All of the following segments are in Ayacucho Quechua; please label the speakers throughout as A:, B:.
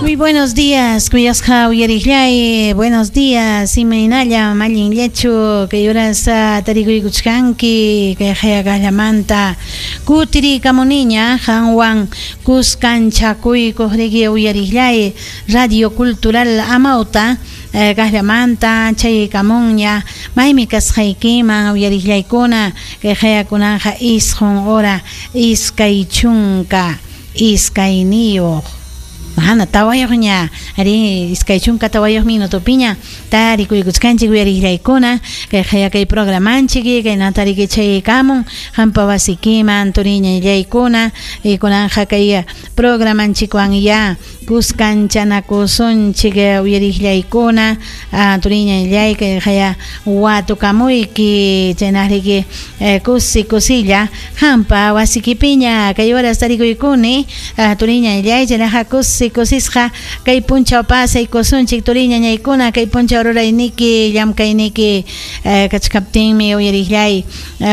A: Muy buenos días, kuyasqa uyariqllay. Buenos días, imaynallam, allinllachu kay horas tarikuykuchkanki kay qayaqallamanta kutirikamuniña qanwan kuskanchakuykuq riki uyariqllay Radio Cultural Amauta kaqllamanta chayaykamunña maymi kasqaykiman uyariqllaykuna kay qayakunanqa 9 hora 22. Mana tawayuqña ari 24 minutopiña tarikuykuchkanchik uyariqllaykuna kay qayakay programanchik kaynata riki chayaykamun qampa wasikiman turiñallaykuna kunanqa kay programanchikwan ya kuskanchanakusunchik uyariqllaykuna turiñallay kay qaya watukamuyki chaynaq riki kusi kusilla qampa wasikipiña kay horas tarikuykuni turiñallay chaynaqa kusi kusisqa kay punchaw pasaykusunchik turiñañaykuna kay punchaw rurayniki llamkayniki kachkaptinmi uyariqllay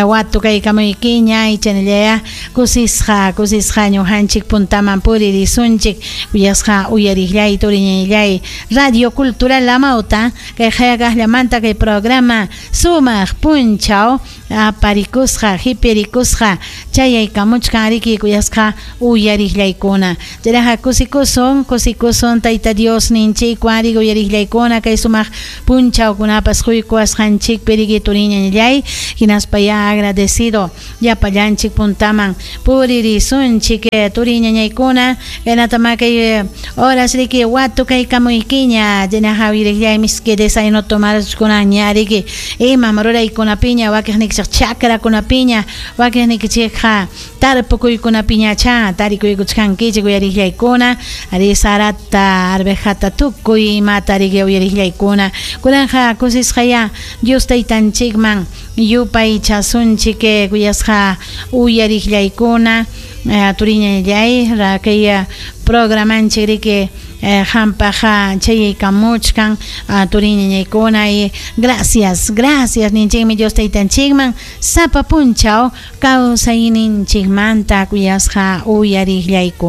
A: watukaykamuykiña chaynallaya kusisqa kusisqa ñuqanchik puntaman puririsunchik kuyasqa uyariqllay turiñallay Radio Cultural Amauta kay qayaqallamanta kay programa sumaq punchaw aparikusqa hipirikusqa chayaykamuchkan riki kuyasqa uyariqllaykuna chayraqa kusikusun kusikusun Tayta Dios ninchikwan riki uyariqllaykuna kay sumaq punchawkunapas quykuwasqanchikpi riki turiñallay hinaspa ya agradecido llapallanchik puntaman puririsunchik turiñañaykuna kaynatama kay horas riki watukaykamuykiña chaynaqa uyariqllay miski desayuno tomarkunaña riki imam ruraykunapiña wakiqnikichik chakrakunapiña wakiqnikichikqa tarpukuykunapiñacha tarikuykuchkankichik uyariqllaykuna ari sarata arvejata tukuy imata riki uyariqllaykuna kunanqa kusisqaya Dios taytanchikman yupaychasunchik kuyasqa uyariqllaykuna turiñallay kay programanchik riki qampaqa chayaykamuchkan turiñañaykuna y gracias gracias ninchikmi Dios taytanchikman sapa punchaw kawsayninchikmanta kuyasqa uyariqllaykuna.